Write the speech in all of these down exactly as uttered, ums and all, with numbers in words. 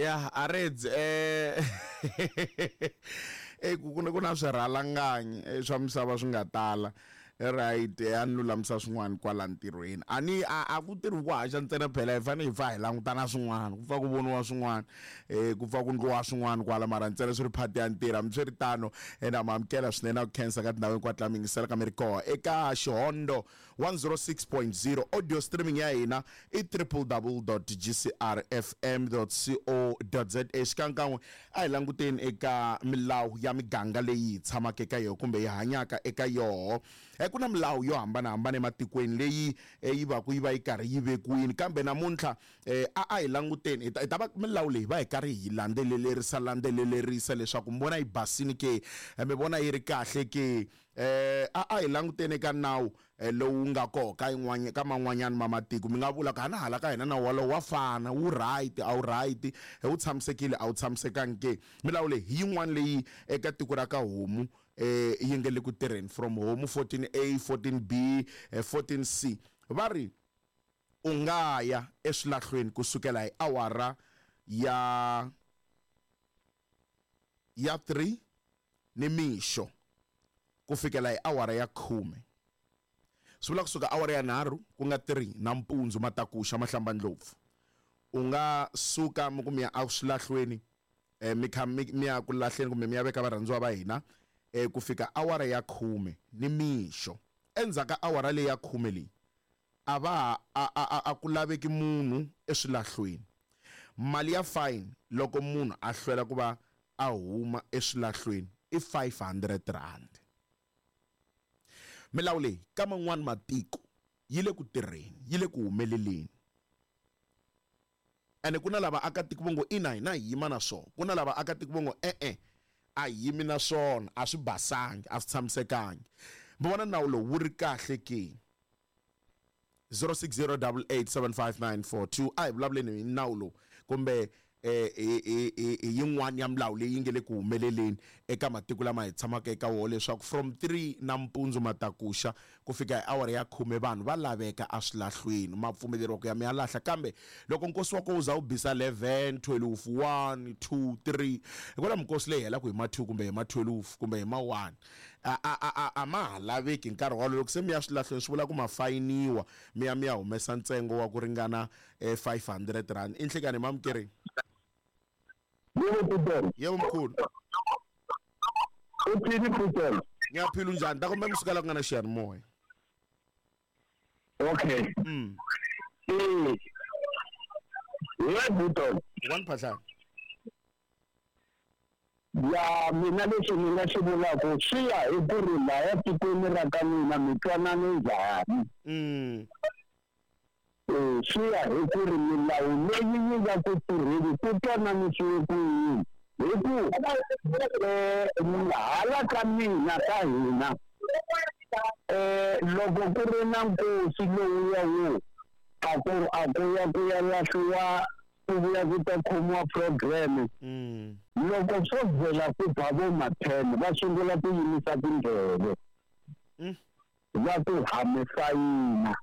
Ya areds eh eh ku ku na swirhalanganyi swa misava swi nga tala. Right, ya ni lulamisa swin'wana kwala ntirhweni. A ni a a ku tirhi ku haxa ntsena phela hi fanele hi pfa hi langutana swin'wana, ku pfa ku voniwa swin'wana, eh ku pfa ku ndliwa swin'wana kwala mara ntsena swi ri part ya ntirho. Hambi swi ri tano, na ma amukela swinene na ku khensa ka tindhawu hinkwato la mi yingisela ka mi ri kona eka Xihondo one oh six point zero. Audio streaming ya hina i triple w dot g c r f m dot co dot z a. Xikankan'we a hi languteni eka milawu ya miganga leyi hi tshamaka eka yona kumbe hi hanyaka eka yoho. Ku na milawu yo hambanahambana ematikweni leyi yi va ku yi va yi karhi yi vekiwile, kambe namuntlha a a hi languteni hi ta va milawu leyi va hi karhi hi landzelerisa landzelerisa leswaku mi vona yi basini ke, mi vona yi ri kahle ke. A a hi languteni eka nawu lowu nga koho ka yin'wana ka man'wanyana ma matiko. Mi nga vula ku hana hala ka hina nawu walowo wa fana, wu right a wu right, wu tshamisekile a wu tshamisekangi ke. Milawu leyi hi yin'wana leyi eka tiko ra ka homu eh yi nge le ku tirheni from homu fourteen A, fourteen B, fourteen C. Va ri u nga ya eswilahlweni kusukela hi awara ya ya three ni mixo ku fikela hi awara ya khume. Swi vula kusuka awara ya nharhu ku nga three nampundzu matakuxa mahlambandlopfu, u nga suka mi ku mi ya eswilahlweni, eh mi kha mi ya ku lahleni kumbe mi ya veka varhandziwa va hina eh ku fika awara ya khume ni mixo. Endzhaku ka awara leyi ya khume leyi a va a a a ku laveki munhu eswilahlweni. Mali ya fine loko munhu a hlwela ku va a huma eswilahlweni i five hundred rand. Milawu leyi ka man'wani matiko yi le ku tirheni, yi le ku humeleleni. Ene ku na lava akatiko vo ngo ina hina hi yima na swona, ku na lava akatiko vo ngo e-e a hi yimi na swona, a swi basangi, a swi tshamisekangi. Mi vona nawu lowu wu ri kahle ke? zero six zero double eight seven five nine four two. A hi vulavuleni hi nawu lowu kumbe eh hi yin'wana ya milawu leyi nge le ku humeleleni eka matiko lama hi tshamaka eka wona, leswaku from three nampundzu matakuxa ku fika hi awara ya khume vanhu va laveka eswilahlweni, ma pfumeleriwa ku ya mi ya lahla. Kambe loko nkosi wa kona wu za wu bisa eleven, twelve, one, two, three, hikwalaho minkosi leyi helaka hi ma two kumbe hi ma twelve kumbe hi ma one a a a a ma ha laveki nkarhi wolowo. Loko se mi ya swilahlweni swi vula ku ma fayiniwa, mi ya mi ya humesa ntsengo wa ku ringana five hundred rand. I nhlekani mamukeri? Yebo Peter. Yebo mkhulu. Uthini Peter? Ngiyaphila unjani? Ta kumbe misuka la ku nga na xiyanimoya. Okay. Mm. Eh. Yebo Peter. One percent. Ya mina lexi ni nga xi vulaka swi ya hi ku ri laya tikweni ra ka mina mi twanane njhani. Mm. Eh swi ya hi ku ri milawu leyi yi nga ku tirheni ku twananisiwe ku yini, hi ku eh hala ka mina ka hina eh loko ku ri na nkosi lowuya wo a ku a ku ya ku ya lahliwa ku vuya ku ta khomiwa program, loko swo vhela ku ba vo ma ten va sungula ku yimisa tindleve va ku ha mi fayina,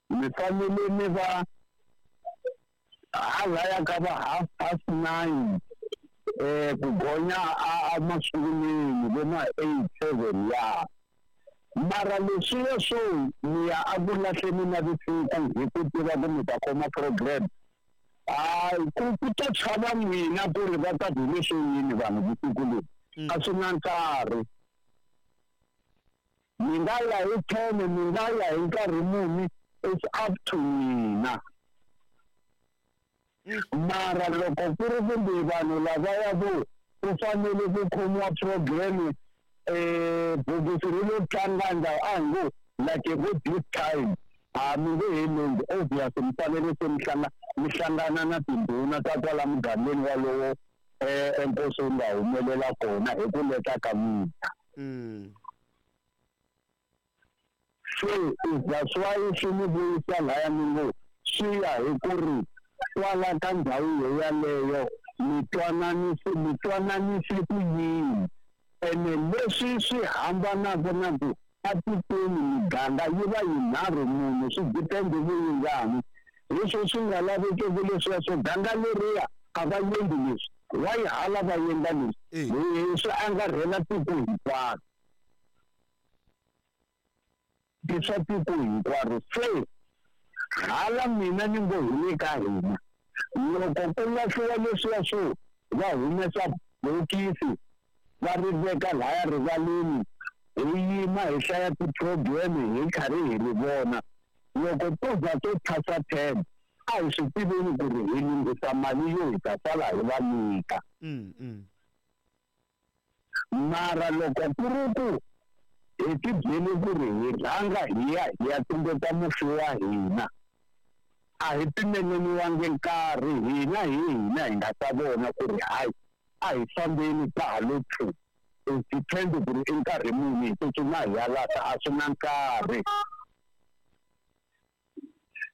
mi fanele mi va halaya ka va half past nine eh ku gonya a masungulweni vo ma eight seven ya. Mara leswiya swo mi ya a ku lahleni na vusiku hi ku tiva ku mi ta khoma program, hayi ku ku ta chava n'wina ku ri va ta ku leswo yini vanhu vusiku lebyi, a swi na nkarhi. Mi nga ya hi ten, mi nga ya hi nkarhi muni, it's up to n'wina. Mara loko ku ri kumbe vanhu lavaya vo ku fanele ku khomiwa program eh bokisi ri lo tlanga ndhawu a hi ngo like vo this time a mi nge he longhi, obvious mi fanele se mi hlanga mi hlangana na tindhuna ta kwala mugangeni walowo eh enkosi wu nga humelela kona hi ku leta ka n'wina. Se that's why swi ni vuyisa laya mi ngo swi ya hi ku ri kwala ka ndhawu yo yaleyo mi twananise mi twananise ku yini, ene leswi swi hambanaka na ku atikweni miganga yi va yinharhu munhu swi depend ku yi njhani. Hi swo swi nga lavekeki leswiya swo ganga leriya a va endli leswi, wa yi hala va endla leswi, hi swi angarhela tiko hinkwaro, i swa tiko hinkwaro. Se hala mina ni ngo hi le ka hina, loko ku lahliwa leswiya swo va humesa bokisi va ri veka laya rivaleni, hi yima hi hlaya ti-program hi karhi hi ri vona. Loko to za to phasa ten, a hi swi tiveni ku ri hi lunghisa mali yo hi ta sala hi va nyika. Mara loko ku ri ku hi ti byele ku ri hi rhanga hi ya hi ya tumbeta mufi wa hina, a hi pimeleriwangi nkarhi, hina hi hina hi nga ta vona ku ri hayi a hi fambeni ka ha lo two. It depends ku ri i nkarhi muni hi tsutsuma hi ya lahla, a swi na nkarhi.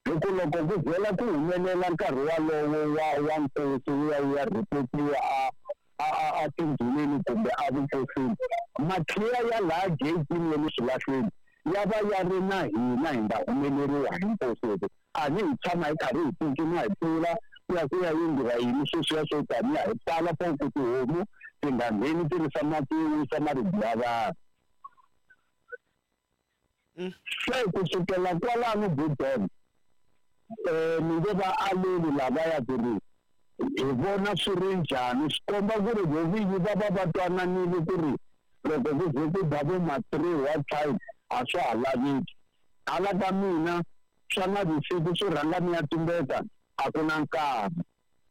Hi ku loko ku byela ku humelela nkarhi walowo wa wa nkosi wu ya wu ya rhipotiwa a a a a tindhuneni kumbe a vukosini, makhiya ya laha gate-ini ya le swilahlweni ya va ya ri na hina, hi nga humeleriwa hi nkosi. Hi a ni hi tshama hi karhi hi tsutsuma hi pfula ku ya ku ya yindliwa yini sweswiya swo taniya hi pfala for ku tihomu ti nga ngheni ti risa mati yo wisa maribye ya vanhu. Se ku sukela kwalano Budon, um ni nge va aleli lavaya ku ri hi vona swi ri njhani, swi komba ku ri vo vinyi va va va twananile ku ri loko ku ze ku ba vo ma three wa time a swa ha laveki. Hala ka mina swa navusiku swi rhanga mi ya tumbeta a ku na nkarhi,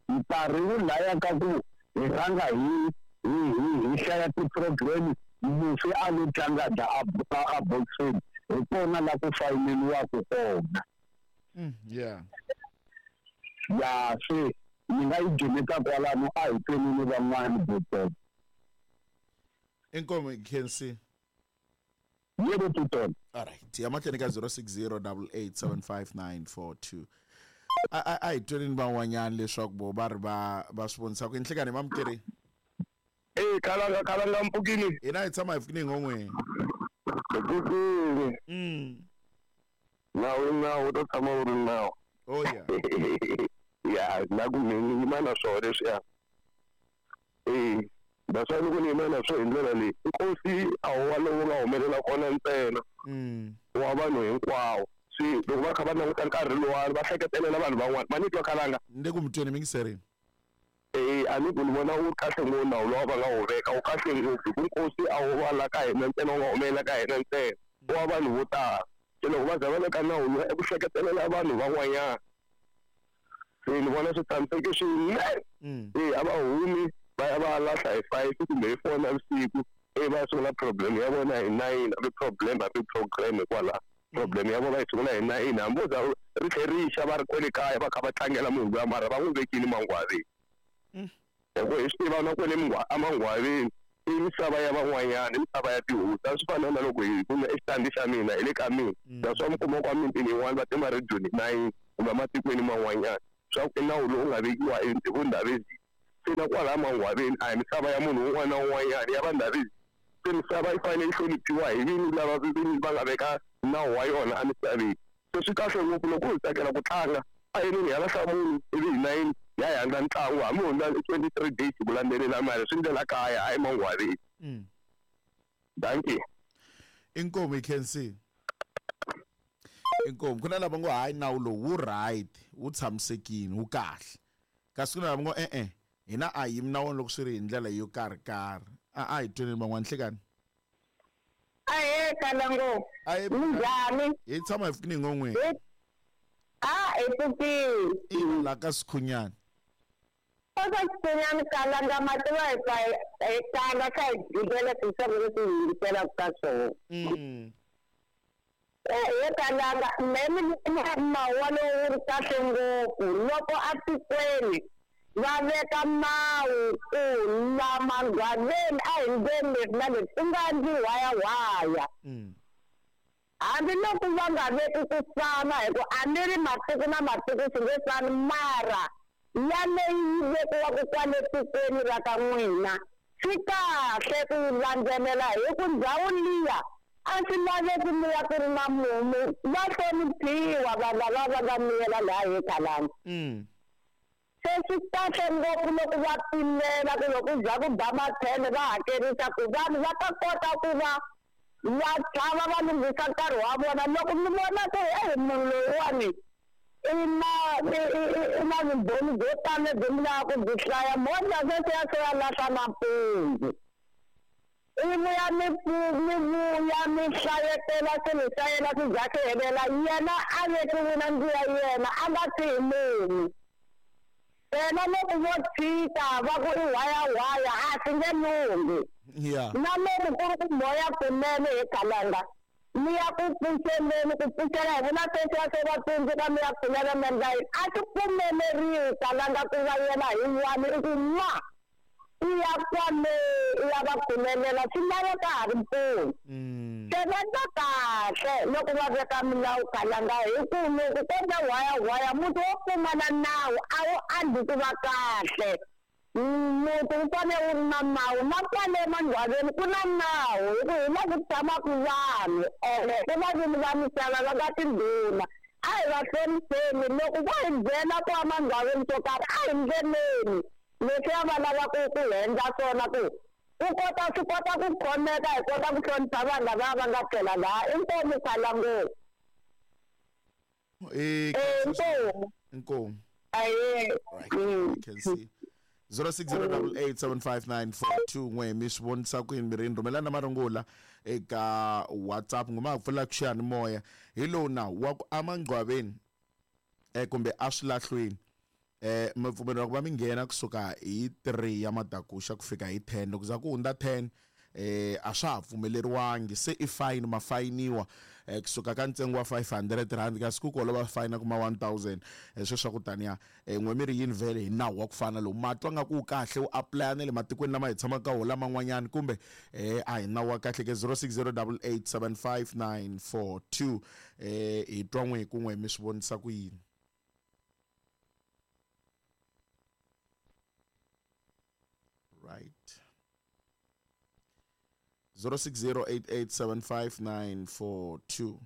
nkarhi wu laya ka ku hi rhanga hi hi hi hi hlaya ti-program, mufi a lo tlanga dya a a boxini, hi kona la ku fayineliwaka kona. Yeah. Ya se ni nga yi gimeta kwalano, a hi tweni van'wani Budon. Inkomo Khensi. Yebo Budon. All right. Ya mahlweni ka zero six zero double eight seven five nine four two. A a hi tweni van'wanyana leswaku vo va ri va va swi vonisa ku inhlekani mamukeri. Eh kalanga kalanga mpukini. Hina hi tshama hi pfukini ngon'weni. Mpukini. Mm. Nawu nawu to tshama wu ri nawu. Oh yeah. Ya na ku ni yima na swona leswiya. Eh naswona loko ni yima na swona hi ndlela leyi, nkosi a wu wa lowu nga humelela kona ntsena. Mm. Wa vanhu hinkwawo. Se loko va kha va languta nkarhi lowani va hleketelela vanhu van'wana. Ma ni twa kalanga? Ni le ku mi tweni mingiserini. Eh a ni ku ni vona wu kahle ngopfu nawu lowu va nga wu veka, wu kahle ngopfu hi ku nkosi a wu wa la ka hina ntsena, wu nga humelela ka hina ntsena, wa vanhu vo tala. Se loko va za va veka nawu lowu i ku hleketelela vanhu van'wanyana. Se ni vona swi tshamiseke swinene. Eh a va humi va ya va lahla hi five kumbe hi four navusiku, eh va sungula problem ya vona hi nine, a vi problem a vi program hikwalaho. Problem ya vona va yi sungula hi nine, hambi wo za ri tlhe ri xa va ri kwale kaya va kha va tlangela munhu luya, mara va n'wi vekile mangwaveni. Hi ku hi swi tiva na kwale emangwaveni i misava ya van'wanyana, i misava ya tihosi. A swi fana na loko hi kume exitandi xa mina hi le ka mina, naswona mi kuma kwa mitini yin'wana va tima rediyo nine kumbe ematikweni man'wanyana, swa ku i nawu lowu nga vekiwa hi vundhavezini. Se na kwalaya mangwaveni a hi misava ya munhu un'wana na un'wanyana, ya vandhavezini. Se misava yi fanele yi hloniphiwa hi vinyi lava vinyi va nga veka nawu wa yona emisaveni. Se swi kahle ngopfu loko hi tsakela ku tlanga, a yinini hi lahla munhu ivi hi nine ya hi handla ntlangu, hambi hundza twenty three days ku landzelela mali swi ndlela kaya hayi mangwaveni. Thank you. Inkomo Khensi. Inkomo ku na lava ngo hayi nawu lowu wu right, wu tshamisekile, wu kahle. Kasi ku na lava ngo e e hina a yimi na wona loko swi ri hi ndlela yo karhi karhi. A a hi tweni van'wana nhlekani. Ahe kalango. Ahe Minjhani? Hi tshama hi pfukini ngon'weni. A hi pfukini. I la ka Sikhunyana. Eka Sikhunyana kalanga mati va hi pfa hi tlanga kha hi gibela tinsimu leti hi yingiselaka ka swona. Mm. Eh he kalanga mehe ni vona nawu walowo wu ri kahle ngopfu loko atikweni va veka nawu ku la mangwaveni a hi ndleni leswi na leswi ku nga endli whayawhaya. Hambiloko va nga veki ku fana hi ku a ni ri matiko na matiko swi nge fani, mara yaleyi yi vekiwaka kwale tikweni ra ka n'wina swi kahle ku yi landzelela hi ku ndhawu liya A swi laveki mi ya ku ri na mumu va hloniphiwa vanhu lava va nga miyela laha hi khalanga. Se swi kahle ngopfu loko va pimela ku loko ku za ku ba mathele va hakerisa ku vanhu va ta kota ku va va tshama va lunghisa nkarhi wa vona. Loko mi vona ku eyi munhu loyiwani i na i na vumbhoni byo tala lebyi mi lavaka ku byi hlaya, mondla sweswiya swo ya lahla nampundzu i vuya mi mi vuya mi hlayetela swilo swa yena swi za swi helela, yena a vekiwile ndlu ya yena a nga siyi munhu. Yena loko vo tshika va ku i whayawhaya a swi nge lunghi. Na loko ku ri ku moya kunene hi khalanga mi ya ku pfuxeleni ku pfuxela hi vona sweswiya swo va tsundzuka mi ya pfulela mi endla yini, a swi pfumeleriwi khalanga ku va yena hi wani i ku ma i ya kwale i ya va pfumelela swi laveka ha ri mpfuno. Se va endla kahle loko va veka milawu khalanga hi ku loko ko endla whayawhaya muti wo pfumala nawu a wu andli ku va kahle. Muti wu fanele wu ri na nawu na kwale emangcwaveni ku na nawu hi ku hi la ku tshamaka vanhu ene ku va vini va misava va nga tindhuna. A hi va hlonipheni loko vo hi byela ku emangcwaveni swo karhi a hi ndleleni leswiya va lavaka ku hi endla swona ku ku kota swi kota ku khomeka hi kota ku hlonipha vanhu lava va nga tlela laha. Inkomu khala ngopfu. Inkomu. Inkomu. Aye. Right. You can see. zero six zero eight eight seven five nine four two n'we mi swi vonisa ku yini mirini rhumelana marungula eka WhatsApp ngoma ha pfula xiyanimoya hi lowu nawu wa ku emangcwaveni eh kumbe eswilahlweni eh mi pfumeleriwa ku va mi nghena kusuka hi three ya madakuxa ku fika hi ten loko za ku hundza ten eh a swa ha pfumeleriwangi se i fine ma fayiniwa eh kusuka ka ntsengo wa five hundred rand kasi ku kolova fine kuma one thousand eh sweswo ku taniya eh n'we mi ri yini vhele hi nawu wa ku fana lowu ma twa nga ku kahle wu apply na le matikweni lama hi tshamaka ka wona laman'wanyana kumbe eh a hi nawu wa kahle ke zero six zero eight eight seven five nine four two eh hi twa n'we hi kun'we mi swi vonisa ku yini. Right. zero six zero eight eight seven five nine four two.